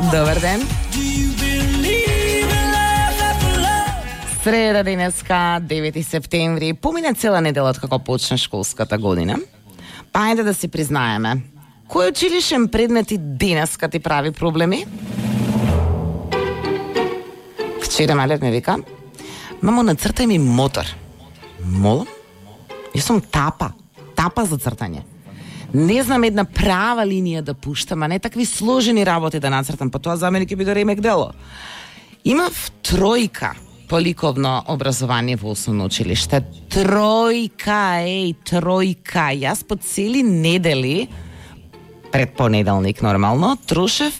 Добар ден. Среда денеска, 9 септември, помина цела недела како почна школската година. Па ајде да си признаеме, кој училишен предмет и денеска ти прави проблеми? Вчера малет ме вика, мамо, нацртај ми мотор. Молам? Јас сум тапа за цртање. Не знам една права линија да пуштам, а не такви сложени работи да нацртам, па тоа за мене ќе биде ремек дело. Имав тројка по ликовно образование во основно училиште. Тројка. Јас по цели недели, пред понеделник нормално, трошев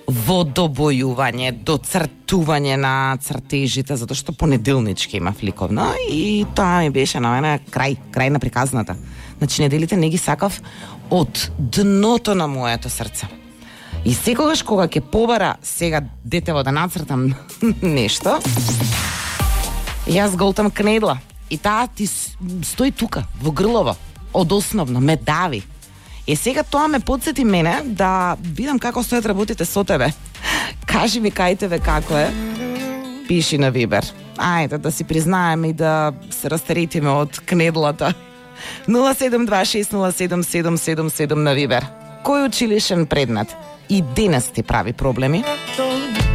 во добојување, доцртување на цртежите, затоа што понеделнички имав ликовно и тоа ми беше на мене крај на приказната. Значи, неделите не ги сакав од дното на моето срце. И секогаш кога ќе побара сега детево да нацртам нешто, јас голтам кнедла. И таа ти стои тука, во грлово, од основно, ме дави. И сега тоа ме подсети мене да видам како стојат работите со тебе. Кажи ми кај тебе како е. Пиши на Вибер. Ајде да си признаеме и да се растеретиме од кнедлата. 072607777 на Вибер. Кој училишен предмет и денес ти прави проблеми?